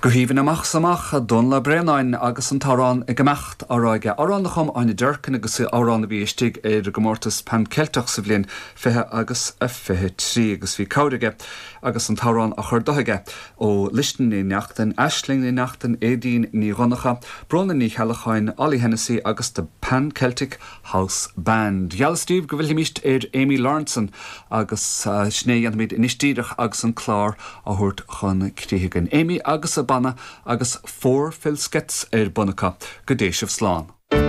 Go haoibhinn amach 's amach, Dónal Ó Braonáin agus an t-amhrán 'Ag Imeacht' á rá aige. Amhrán a chum Áine Durkin agus amhrán a bhí istigh ar an gcomórtas Pan Ceilteach sa bhliain 20 agus a 23 agus bhí cabhair aige agus an t-amhrán á chur do aige ó Luisne Ní Neachtain, Aisling Ní Neachtain, Aedín Ní Dhonncha, Bróna Ní Cheallacháin, Ollie Hennessy agus The Pan Celtic House Band. Gheallas daoibh go bhfillfimíst ar Amy Lawrenson agus sin é a dhéanfaimid anois díreach agus an clár á thabhairt chun críche againn. Amy agus a banna agus Four Filskettes ar bun acu. Go dté sibh slán.